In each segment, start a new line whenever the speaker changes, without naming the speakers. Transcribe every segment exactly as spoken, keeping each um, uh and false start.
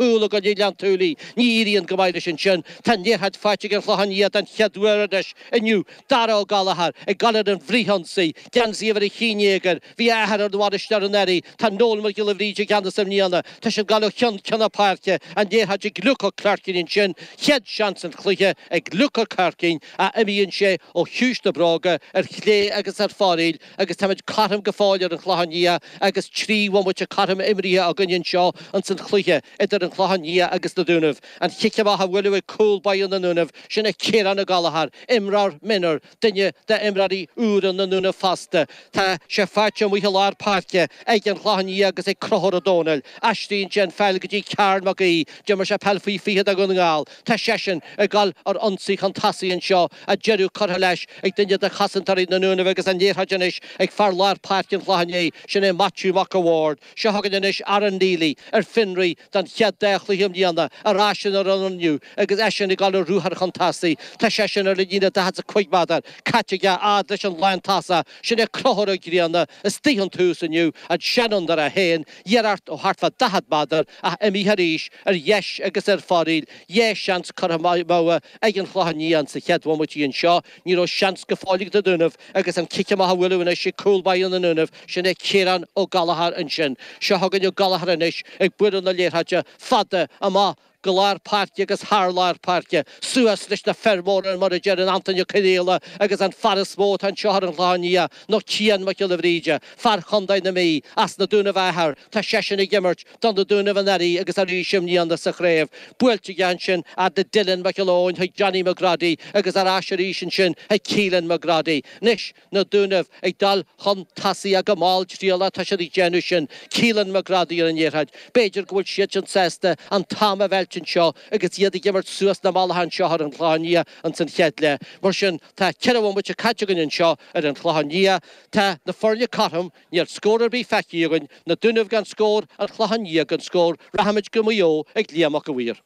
Cúl i gcoinne Ghleann tSúilí. Ní éiríonn go maith leis ansin. Tá an liathróid faighte ag an Chlochán Liath den chéad uair anois inniu. Dara Ó Gallchóir ag gabháil ar an bhfrithionsaí. Geansaí uimhir a haon déag air. Bhí a athair ar an bhainisteoir anuraidh. Tá Noel Mac Giolla Bhríde i gceannas i mbliana. Tá siad ag gabháil ó cheann ceann na páirce. An liathróid ag Luke Ó Cleircín ansin. Chéad seans an chluiche ag Luke Ó Cleircín ach imíonn sé ó chiumhais na bróga ar chlé agus ar foraíl agus táimid cothrom go fóill ar an Chlochán Liath agus trí bhomaite cothrom imrithe againn anseo ins an chluiche idir an Clochán Liath agus na Dúnaibh. An chic amach á bhualadh ag cúl báire na nDúnaibh, sin é Ciarán Ó Gallchóir, imreoir mionúir, duine d'imreoirí úra na nDúnaibh fosta. Tá sé faighte amuigh i lár páirce ag an Chlochán Liath agus ag Conchúr Ó Domhnaill. Aistríonn sé an pheil go dtí Karl Mac Aoidh. D'imir sé peil faoi fiche do Dhún na nGall. Tá seisean ag dul ar ionsaí chun tosaigh anseo, ach deireadh curtha leis ag duine de chosantóirí na nDúnaibh agus an liathróid anois ag fear lár páirce an Chlocháin Léith, sin é Maitiú Mac a' Bhaird. Seo chugainn anois Aaron Neely ar fionraí don chéad dá chluiche i mbliana, ar ais ina fhoireann inniu agus eisean ag dul ar ruathar chun tosaigh. Tá seisean ar an líne daichead is a cúig méadar caite aige fhad leis an lántosach. Sin é Conchúr Ó Grianna istigh ón tús inniu, an seanfhondúir é féin, iarracht ó thart fá daichead méadar ach imithe arís ar dheis agus ar foraíl. Dhá sheans curtha amú ag an Chlochán Liath sa chéad bhomaite anseo. Ní raibh seans go fóill ag na Dúnaibh agus an cic amach á bhualadh anois ag cúl báire na nDúnaibh, sin é Ciarán Ó Gallchóir ansin. Seo chugainn Ó Gallchóir anois ag bualadh na liathróide fada amach go lár páirce agus thar lár páirce, suas leis na fir mhóra mar a deireann Antaine Ó Conaola agus an fear is mó atá anseo ar an Chlochán Liath ná Cian Mac Giolla Bhríde, fear Chontae na Mí, as na Dúnaibh a athair, tá seisean ag imirt do na Dúnaibh anuraidh agus arís i mbliana sa chraobh. Buailte aige ansin fhad le Dylan Mac Giolla Eoin chuig Johnny McGroddy agus ar ais arís ansin chuig Keelan McGroddy. Anois na Dúnaibh ag dul chun tosaigh ach go mall trialach tá siad ag déanamh sin. Keelan McGroddy ar an liathróid. B'fhéidir go bhfuil siadsan sásta an t-am a mheilt anseo agus iad ag imirt suas na mallacha anseo ar an Chlochán Liath ins an chéad leath. Mar sin, tá ceithre bhomaite caite againn anseo ar an Chlochán Liath. Tá na foirne cothrom, níl scór ar bith feicthe againn, na Dúnaibh gan scór, an Clochán Liath gan scór. Rachaimid go Maigh Eo ag Liam Mac a' Mhaoir.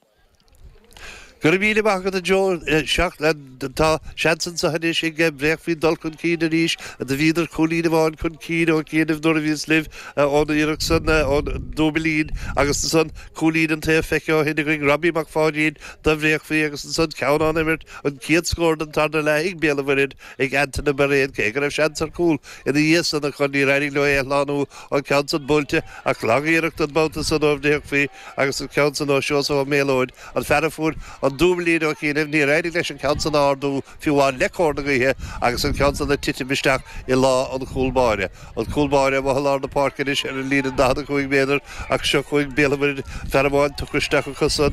Go raibh míle maith agat a Joe. Seacht, tá seans anseo anois ag Bréachmhaigh dul chun cinn arís. Do bhíodar cúilín amháin chun cinn ó chianaibh nuair a bhíos libh ón iarracht san ón dúbailín agus ansan cúilín an taobh feicthe ó shin againn Robbie Mac Pháidín do Bhréachmhaigh agus ansan ceann ón imirt an chéad scór den tarna leath ag Béal an Mhuirthead ag Antaine Birrane cé go raibh seans ar chúl ina dhiaidh san acu níor éirigh leo é a shlánú an ceann san buailte ach lag-iarracht an babhta san ó Bhréachmhaigh agus an ceann san ó Seosamh Ó Méalóid an fear a fuair an dúbailín ó chianaibh, níor éirigh leis an ceann san a ardú fiú amháin le cóir na gaoithe agus an ceann san ag titim isteach i lámha an chúl báire. An cúl báire amuigh i lár na páirce anois ar an líne daichead a cúig méadar ach seo chugainn Béal an Mhuirthead, fear amháin tugtha isteach acu san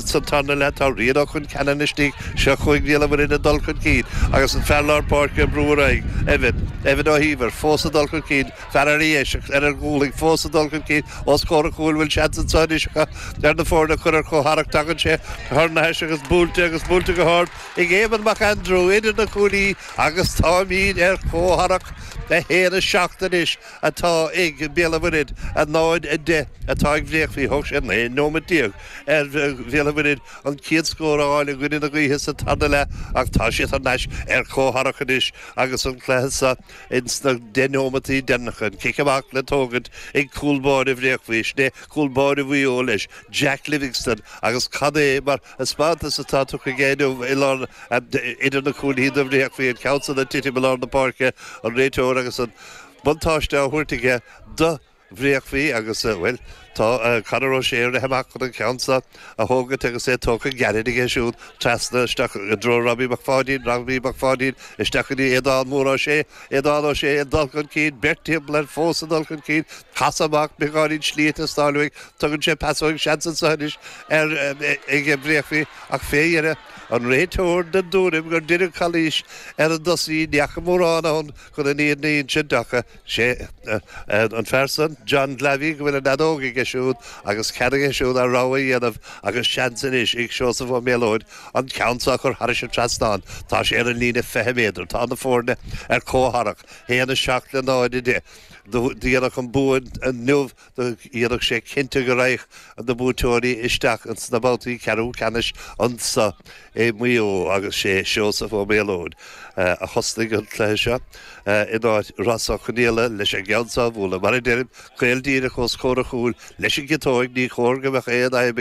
sa tarna leath. Tá Rian Ó Concheanainn istigh, seo chugainn Béal an Mhuirthead ag dul chun cinn agus an fear lár páirce ag brú ar aghaidh, Evan, Evan Ó hÍomhair, fós ag dul chun cinn, fear ar a dheis ar a ghualainn fós ag dul chun cinn os comhair an chúil, bhfuil seans anseo anois acu ar na foirne a chur ar comhtharrac. Tagann sé thar n-ais agus buailte agus buailte go hard ag Éamonn Mac Aindriú idir na cuaillí agus táimid ar comhtharrac a haon a seacht anois atá ag Béal an Mhuirthead, a náid a deich atá ag Bhréachmhaigh. Thóg sé naoi nóiméad déag ar Bhéal an Mhuirthead an chéad scór a fháil i gcoinne na gaoithe sa tarna leath ach tá siad thar n-ais ar comhtharrac anois agus an cluiche seo ins na deich nóimeataí deireanacha. An cic amach le tógaint ag cúl báire Bhréachmhaigh, sin é cúl báire Mhaigh Eo leis, Jack Livingstone agus cad é mar thaispeántas atá tugtha aige inniu i lár idir na cúilí do Bhréachmhaigh, an ceann san ag titim i lár na páirce, an réiteoir agus an buntáiste á thabhairt aige do Bhréachmhaigh agus, bhuel, tá Conor O'Shea ag rith amach chun an ceann seo a thógaint agus é tógtha gairid aige siúd trasna isteach i dtreo Robbie Mac Pháidín, Robbie Mac Pháidín isteach go dtí Aodán Mór Ó Sé, Aodán Ó Sé ag dul chun cinn, beirt timpeall air fós ag dul chun cinn, casadh amach, beagáinín slí ag teastáil uaidh, tugann sé pas uaidh, seans anseo anois ar ag Bréachmhaigh ach fé dheireadh an réiteoir den dtuairim gur deineadh calaois ar an dtosaí, ní fhaca mórán ann chun an fhírinne a insint ach sé an fear san, John Glavey, go bhfuil an fheadóg aige siúd agus cead aige siúd a rogha a dhéanamh agus seans anois ag Seosamh Ó Méalóid an ceann seo a chur thairis an trasnán. Tá sé ar an líne fiche méadar. Tá na foirne ar comhtharrac, haon a seacht le náid a deich. Do dhéanfadh an bua inniu do dhéanfadh sé cinnte go raghadh na buaiteoirí isteach ins na babhtaí ceathrú ceannais anso i Maigh Eo agus sé Seosamh Ó Méalóid a thosnaigh an cluiche seo in áit Rossa Ó Conaola leis an gceann seo a bhualadh. Mar a deirim, caol díreach os comhair a chúil leis an gciotóig, ní chóir go mbeadh aon fhadhb aige.